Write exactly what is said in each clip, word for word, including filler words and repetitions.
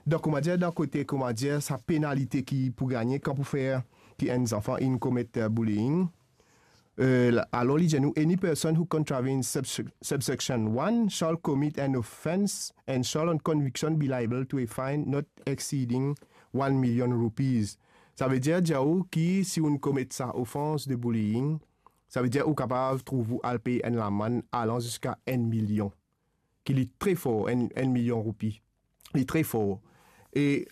dan, koumadir, dan kote, koumadir, sa penalite ki pou gagne kan pou fer ki enn zanfan inn komet, eh, bullying. Eh, la, alor li dir nou, any person who contravenes subse-, subsection one shall commit an offence and shall on conviction be liable to a fine not exceeding one million rupees. Savedir, dir ou ki si ou'nn komet sa ofans de bullying, savedir ou kapav trouv ou al pey enn lamann alan ziska enn milion, ki li tre for, enn, enn milion roupi. Li tre for. E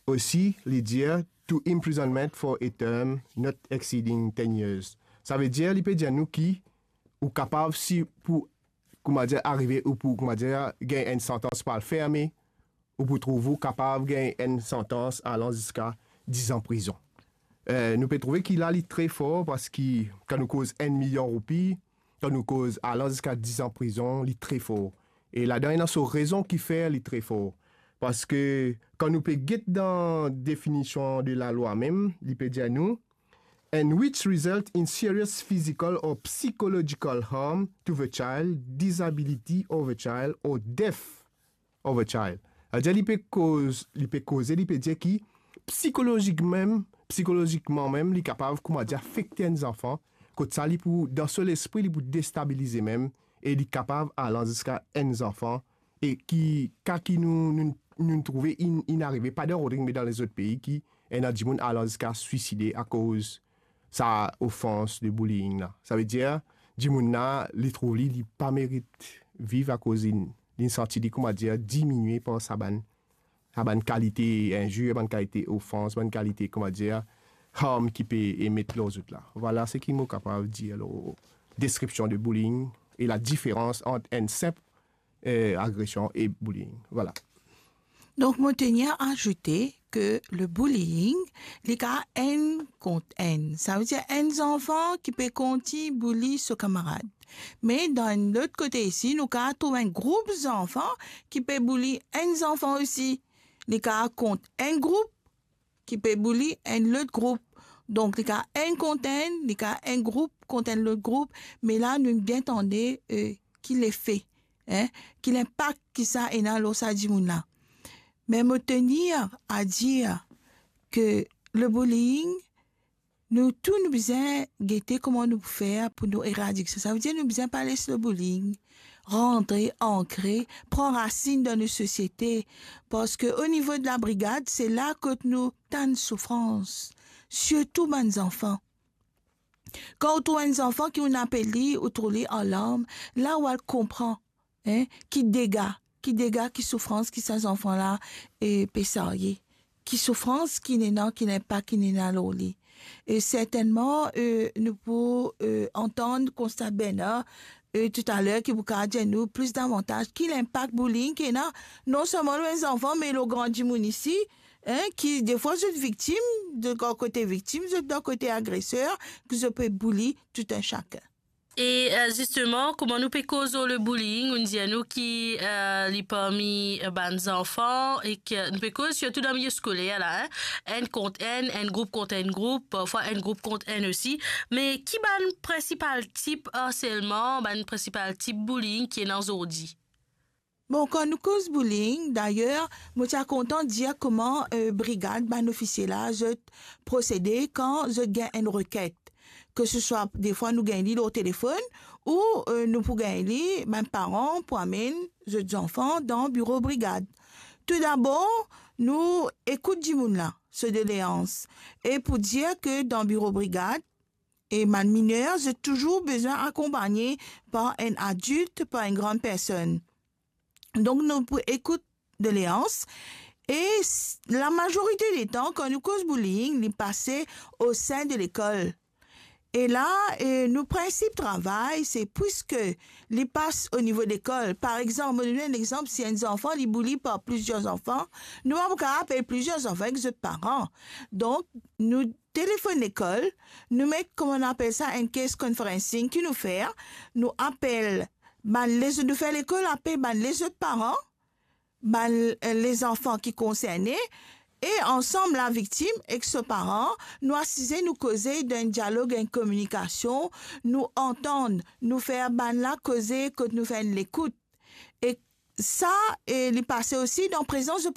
osi, li dir, to imprisonment for a term not exceeding ten years. Savedir, li pe dir nou ki ou kapav, si pou, koumadir, arive, ou pou, koumadir, gagn enn santans pou al ferme, ou pou trouv ou kapav gagn enn santans alan ziska diz an prizon. Eh, nou pe trouve ki la li tre for, parski kan nou koz enn milion roupi, kan nou koz alan ziska diz an prizon, li tre for. E ladan ena so rezon ki fer li tre for. Parski kan nou pe get dan definision de lalwa mem, li pe dir nou, and which result in serious physical or psychological harm to the child, disability of the child, or death of a child. Savedir li pe koz, li pe koze, li pe dir ki psikolozik mem, psikolozikman mem, li kapav, koumadir, afekte enn zanfan, kot sa li pou, dan so lespri, li pou destabilize mem, e li kapav alan ziska enn zanfan, e ki, ka ki nou, nou, nou trouve inn, inn arive, pa dan Rodrig, me dan lezot pei, ki ena dimoun alan ziska swiside akoz sa ofans de bullying la. Savedir, dimoun la, li trouv li, li pa merit viv akoz li, li santi li, koumadir, diminie par sa bann, sa bann kalite inzir, bann kalite ofans, bann kalite, koumadir, harm ki pe emet lor zot la. Vwala seki mo kapav dir lor deskripsion de bullying e ladiferans ant enn sinp, eh, agresion e bullying. Vwala. Donk, mo tenir a azoute ke le bullying, li kapav enn kont enn. Savedir enn zanfan ki pe kontign bully so kamarad. Me dan enn lot kote isi, nou kapav trouv enn group zanfan ki pe bully enn zanfan osi. Li kapav kont enn group ki pe bully enn lot group. Donk, li kapav enn kont enn, li kapav enn group kont enn lot group. Me la, nou bien tande, eh, ki lefe, hein, ki linpak ki sa ena lor sa dimoun la. Me mo tenir a dir ke le bullying, nou tou nou bizin gete kouma nou pou fer pou nou eradik sa. Savedir nou bizin pa les le bullying rantre, ankre, pran rasinn dan nou sosiete, parski o nivo de la brigad, se la kot nou tann soufrans, sirtou bann zanfan. Kan ou trouv enn zanfan ki ou'nn apel li, ou trouv li an larm, la ou al konpran, hein, ki dega, ki dega, ki soufrans ki sa zanfan la, eh, pe sarye, ki soufrans ki ena, ki linpak ki ena lor li. E sertennman, eh, nou pou, eh, antann Constant Bernard, eh, toutaler ki pou kapav dir nou plis davantaz ki linpak bullying ki ena, non selman lor enn zanfan, me lor gran dimoun isi, hein, ki defwa zot viktim, zot dan kote viktim, zot dan kote agreser, ki zot pe bully tou enn sakenn. E, eh, zisteman, kouma nou pe koz lor le bullying, ou'nn dir nou ki, eh, li parmi, eh, bann zanfan e ki nou pe koz sirtou dan milie skoler la, hein, enn kont enn, enn group kont enn group, parfwa enn group kont enn osi. Me ki bann prinsipal tip harselman, bann prinsipal tip bullying ki ena zordi? Bon, kan nou koz bullying, dayer, mo ti a kontan dir kouma, eh, brigad, bann ofisie la, zot prosede kan zot gagn enn rekent. Ke se swa, defwa nou gagn li lor telefonn, ou, eh, nou pou gagn li, bann paran pou amenn zot zanfan dan biro brigad. Toudabor, nou ekout dimoun la, so doleans. E pou dir ke dan biro brigad, e bann miner, zot touzour bizin akonpagne par enn adilt, par enn gran personn. Donk, nou pou ekout doleans. E s-, lamazorite letan, kan nou koz bullying, li pase o sin de lekol. E la, e nou prinsip travay, se pwiske li pas o nivo lekol. Par exanp, mo donn enn exanp, si enn zanfan, li bully par plizier zanfan, nou pa pou kapav apel plizier zanfan ek zot paran. Donk, nou telefonn lekol, nou met, kouma nou apel sa, enn case conferencing ki nou fer, nou apel bann lez-, nou fer lekol apel bann lezot paran, bann, eh, lezanfan ki konserne, e ansam laviktim ek so paran, nou asize, nou koze dan enn dialog, enn kominikasion, nou antann, nou fer bann la koze kot nou fer enn lekout. E sa, e li pase osi dan prezans de